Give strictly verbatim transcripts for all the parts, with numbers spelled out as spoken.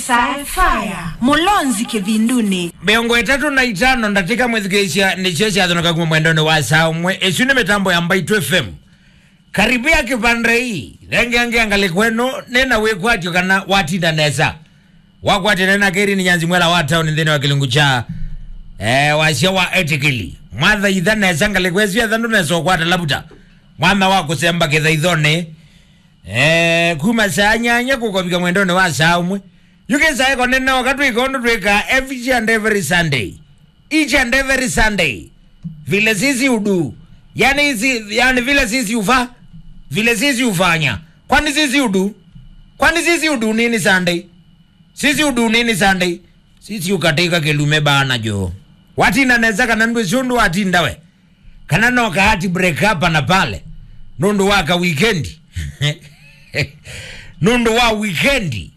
Sci-Fi, Mũlonzi Kĩvindunĩ. Mĩongo ĩtatũ na itano ndatĩka mwĩthukĩĩsya nĩsyo syathonoka kuma mwendonĩ wa saa ũmwe. Ĩsu nĩ mĩtambo ya Mbaitũ F M. Karibia kĩvanda ii. Thengeangea ngalĩko ĩno, nĩna wĩkwatyo kana watinda nesa. Wakwatene na Keri nĩ Nyanzi Mwela wa taoni nthĩnĩ wa kĩlungu kya, eh, wasya wa etikili. Mwathaitha nesa ngalĩko ĩsu ethanu nesa ũkwata lavuta. Mwanya wa kũsemba kĩthaithonĩ. Eh, kuma saa nyanya kũkovika mwendonĩ wa saa ũmwe. Yu kĩsaeko nĩnooka twĩka ũndũ twĩkaa each and every Sunday. Each and every Sunday. Vile sisi udu. Yani, si, yani vile sisi ufa. Vile sisi ufanya. Kwani sisi udu? Kwani sisi udu nini Sunday? Sisi udu nini Sunday? Sisi ukatĩka kĩlume bana jo. Watinda nesa kana ndwĩsĩ ũndũ watinda we? Kana no ka heartbreak hapa na pale? Nũndũ wa ka weekend. Nũndũ wa weekend.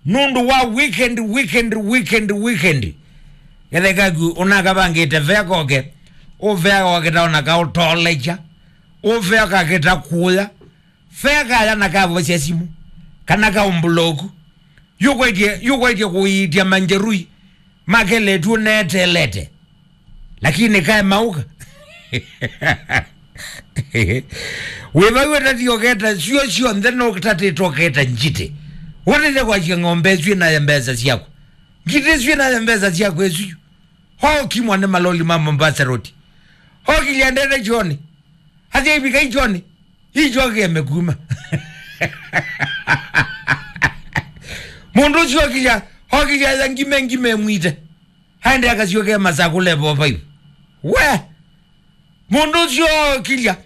Nũndũ wa weekend, weekend, weekend, weekend. Kethekaku ũnakavangĩte vea koke. Ũvea koke taona kaũtolecha. Ũvea kakĩta kũya. Vea kaya na kavosya simũ. Kana kaũmbloku. Yũkwetye, yũkwetye kũiitya manjerui. Makeletw'e netelete. Lakini kae mauka. Wĩvau ũtatioketa sio syonthe no ũtatĩtoketa njitĩ. Ũtĩte kwasya ng'ombe ĩsu ĩnaye mbesa syaku. Njitĩ ĩsu ĩnaye mbesa syaku ĩsu. Hokimwa nĩ maloli ma Mombasa Road. Hokilya ndete kyoni. Athi aivika ikyoni. Ikyokeme kuma. Mũndũ ũcio okilya, okilya ya ngime ngime mwite. Aende akasyoke masakũle vo vaivu. We! Mũndũ ũcio okilya,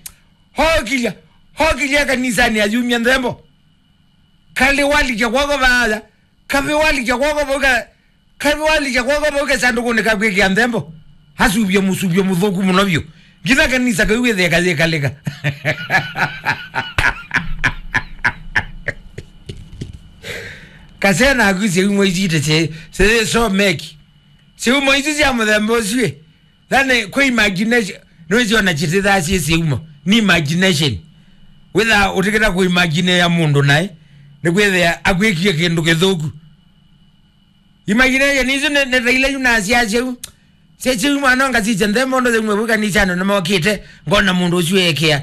okilya, okilya kanisani ayumya nthembo. Kalĩ walikya kwako vaya, kavĩ walikya kwako vau ka, kavĩ walikya kwako vau kasandũkũnĩ ka kwĩkĩa nthembo. Asuvye mũsuvyo mũthũku mũno vyũ. Nginya kanisa kau wĩthĩe kayĩkalĩka. Kasena aku syaumo isu ite syĩ, syĩ so meki. Syaumo isu sya mũthemba ũsu ĩ. Yaani, kwĩ imagination, nĩwĩsĩ ona chitithaa syĩ syaumo. Nĩ imagination. Wĩtha ũtikĩta kũimagine ya mũndũ naĩ, nĩkwĩthĩa akwĩkie kĩndũ kĩthũku. Imagination isu nĩ, nĩ ta ila yu nasya syau. Sya syaumo ano ngasisya nthembo ũndũ syaumo vu kanisani nĩmokĩte, ngona mũndũ ũsu ekĩa.